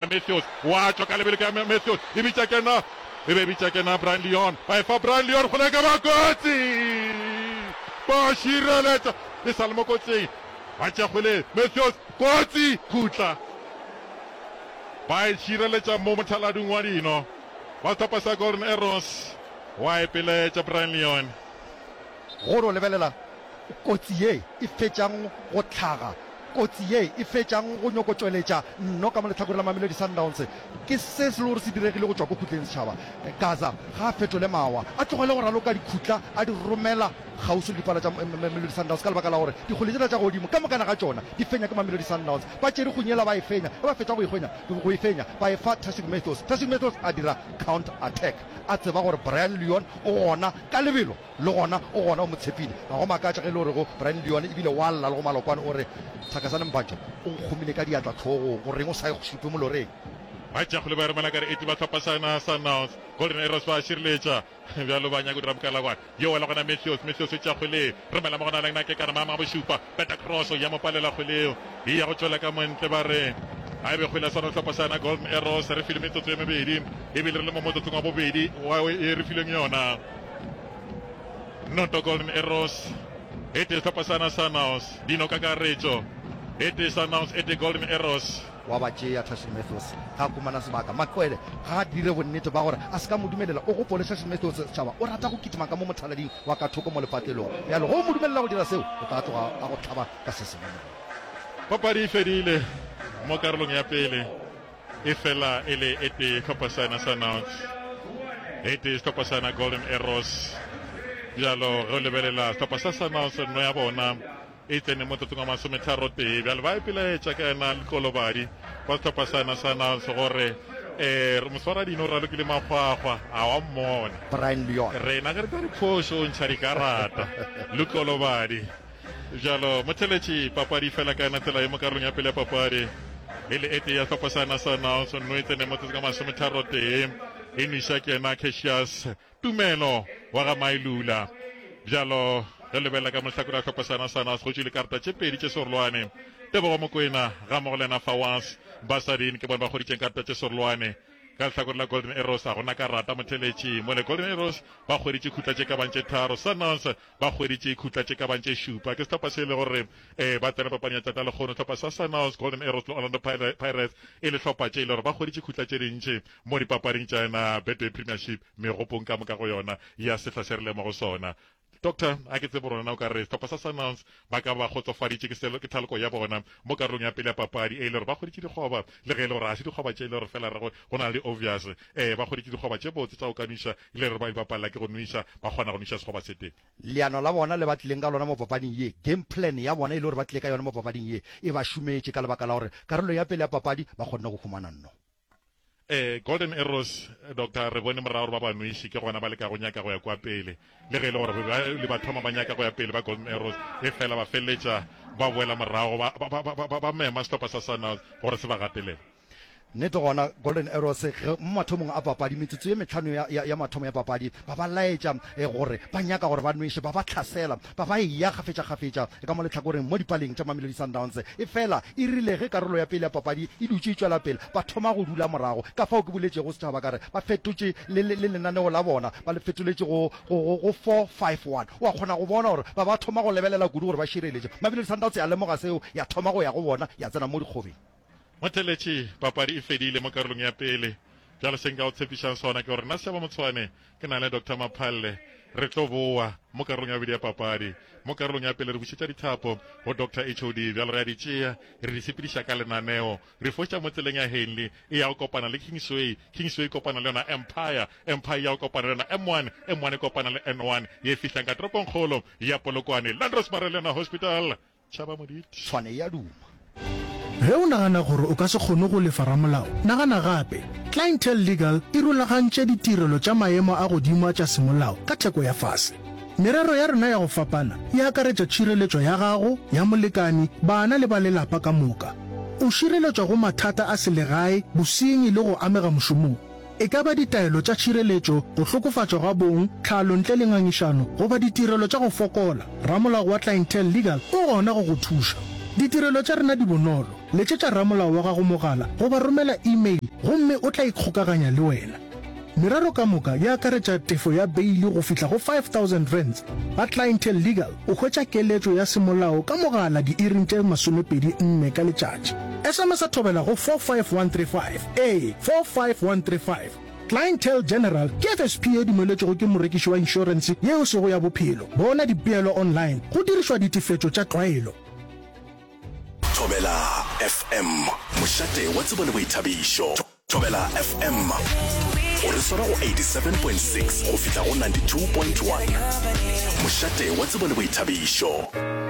Matthews wa tšwa ka lebelo ka Matthews e bitša kena e be bitša kena Brian Leon ba e fa Brian Leon go leka ba kotsi ba šireletša e sa le mo kotsing ba tšea kgwele Matthews kotsi khutla ba e šireletša mo mothalading wa dino ba sehlopha sa Golden Arrows wa e peletša Brian Leon. Go no lebelela kotsi ye e fetšang go hlaga, kotsi ye e fetšang go nyoko tšweletša nno ka mo lehlakoreng la Mamelodi Sundowns, ke se se le gore se diregile go tšwa ko khutleng setšhaba. Gaza ga a fetole mawa, a tlogele go raloka dikhutla a di romela kgauswi le dipala tša Mamelodi Sundowns ka lebaka la gore dikgwele tšela tša godimo ka mokana ga tšona di fenya ke Mamelodi Sundowns. Ba tšere kgonyela ba e fenya, ge ba fetša go e hwenya, go e fenya ba e fa Tashreeq Matthews. Tashreeq Matthews a dira counter attack a tseba gore Brian Leon o gona ka lebelo. Le gona o gona o mo tshepile. Ga go makatše ge e le gore go Brian Leone ebile wa lla le go Malokwane o re, Thakazane Mbanjo o nkgomile ka diatla hlogong, go reng o sa e šupe moloreng? Ba tšea kgole ba e romela ka re eti ba hlopha sa yona Sundowns. Golden Arrows ba šireletša bjalo ba nyaka go dira mokalakwane. Yo wela gona Matthews, Matthews o tšea kgwele romela mo gona Lengna Kekana maemo a bošupa. Peta cross ya mo palela kgwele eo e ya go tšwela ka montle ba re a e be kgwele ya sona sehlopha sa yona Golden Arrows. Re filwe metsotso e mebedi ebile re le mo motsotsong wa bobedi wa e re filweng yona. Noto Golden Arrows e tee sehlopha sa na Sundowns dino kakaretšo e tee Sundowns e tee Golden Arrows. Wa ba tšea Tashreeq Matthews ga a humana sebaka. Maqwele ga a dire bonnete ba gore a se ka mo dumelela. O gopole Tashreeq Matthews setšhaba o rata go kitima ka mo mothalading wa ka thoko mo lepatlelong. Bjale ge o mo dumelela go dira seo, o tla tloga a go hlaba ka se sengwe mo. Papadi e fedile mo karolong ya pele. Efela e le e tee hlopha sa yona Sundowns, e tee sehlopha sa yona Golden Arrows. Bjalo ge o lebelela sehlopha sa Sundowns nno ya bona e tsene mo tsotsong wa masometharotee. Bjalo ba ipelaetša ka yena Lekolobadi wa sehlopha sa yona Sundowns gore eh moswaradino o ralokile makgwakgwa a wa mmona. Brian Leon. Rena ge re tla diphošo o ntšha dikarata. Lukolobadi. Bjalo, motheletši, papadi fela ka yona tsela ye mo karolong ya pele ya papadi. E le e tee ya sehlopha sa yona Sundowns, nno e tsene motsotso ka masometharotee. E nweša ke yena Cassius Tumelo wa ga Mailula. Bjalo, ge lebelela ka mohlakore ya sehlopha sa yona Sundowns, go tšwile karata tše pedi tše serolwane. Tebogo Mokoena gammogo le yena Fawaz Basadien ke bona ba hweditšeng karata tše serolwane. Ka lehlakore la Golden Arrows ga gona karata motheletši. Mole Golden Arrows ba hweditše khutla tše ka bang tše tharo. Sundowns Ba hweditše khutla tše ka bang tše šupa. Ke sehlopha se e le gore eh, ba tsena papading ya tšatša lekgono. Sehlopha sa Sundowns, Golden Arrows le Orlando Pirates e le hlopha tše e le gore ba hweditše khutla tše dintši mo dipapading tša yona Betway Premiership megopong ka moka go yona ya sehla se re leng mo go sona. Doctor, a ke tsebe gore na o ka re sehlopha sa Sundowns ba ka ba kgotsofaditše ke selo ke thaloko ya bona mo karolong ya pele ya papadi e le gore ba hweditše dikgoba le ge e le gore ga se dikgoba tše e le gore fela re go go na le obvious eh ba hweditše dikgoba tše botse tša go ka nwiša e le gore ba di bapalela ke go nwiša ba kgona go nwiša sekgoba se tee. Leano la bona le ba tlileng ka lona mo papading ye, game plan ya bona e le gore ba tlile ka yona mo papading ye, e ba šometše ka lebaka la gore karolong ya pele ya papadi ba kgonne go humana nno. Ee, Golden Arrows, Doctor, re bone morago gore ba ba nweše, ke gona ba leka go nyaka go ya kwa pele. Le ge e le gore ba le ba thoma ba nyaka go ya pele ba Golden Arrows, e fela ba feleletša ba boela morago, ba, ba, ba, ba, ba, ba mema sehlopha sa Sundowns gore se ba gatelele. Nnete gona, Golden Arrows ge mo mathomong a papadi, metsotso ye mehlano ya, ya, ya mathomo ya papadi, ba ba laetša eh, gore ba nyaka gore ba nweše, ba ba hlasela, ba ba eya kgafetšakgafetša ka mo lehlakoreng mo dipaleng tša Mamelodi Sundowns. Efela e rile ge karolo ya pele ya papadi e dutše e tšwela pele, ba thoma go dula morago. Ka fao ke boletšego setšhaba ka re ba fetotše le, le, le lenaneo la bona, ba le fetoletše go, go, go, go 4-5-1. O a kgona go bona gore ba ba thoma go lebelela kudu gore ba šireletše. Mamelodi Sundowns ya lemoga seo, ya thoma go ya go bona, ya tsena mo dikgobeng. Motheletši, Papadi e fedile mo karolong ya pele. Bjale se nka go tshepišang sona ke gore nna Sechaba Motshwane ke na le Doctor Maphalle re tlo boa mo karolong ya bobedi ya papadi. Mo karolong ya pele re bušetša dithapo go Doctor HOD. Bjale re a di tšea re di sepediša ka lenaneo. Re foša mo tseleng ya Henley e ya go kopana le Kingsway, Kingsway e kopana le yona Empire, Empire e ya go kopana le yona M1, M1 e kopana le N1 ye e fihlang ka toropongkgolo ya Polokwane, Landros Marelena Hospital. Tšhaba Moditi. Tshwane e a duma. Ge o nagana gore o ka se kgone go lefa ramolao, nagana gape. Clientele Legal e rulagantše ditirelo tša maemo a godimo a tša semolao ka theko ya fase. Merero ya rena ya go fapana e akaretša tšhireletšo ya gago, ya molekani, bana le ba lelapa ka moka. O šireletšwa go mathata a selegae, bosenyi le go amega mošomong. E ka ba ditaelo tša tšhireletšo, go hlokofatšwa ga bong, tlhalo ntle le ngangišano, goba ditirelo tša go fokola, ramolao wa Clientele Legal o gona go go thuša. Ditirelo tša rena di bonolo. Letšetša ramolao wa gago mogala goba romela email gomme o tla ikgokaganya le wena. Merero ka moka e akaretša tefo ya beili go fihla go R5000. Ba Clientele Legal o hwetša keletšo ya semolao ka mogala diiring tše 24 ka letšatši. SMS-a thobela go 45135, ee, 45135. Clientele General ke FSP ye dumeletšwego ke morekiši wa inšorense ye e sego ya bophelo. Bona dipeelo online go dirišwa ditefetšo tša tlwaelo. Thobela FM, mošate wa tsebo le boithabišo. Thobela FM, o re swara go 87.6 go fihla go 92.1. Mošate wa tsebo le boithabišo.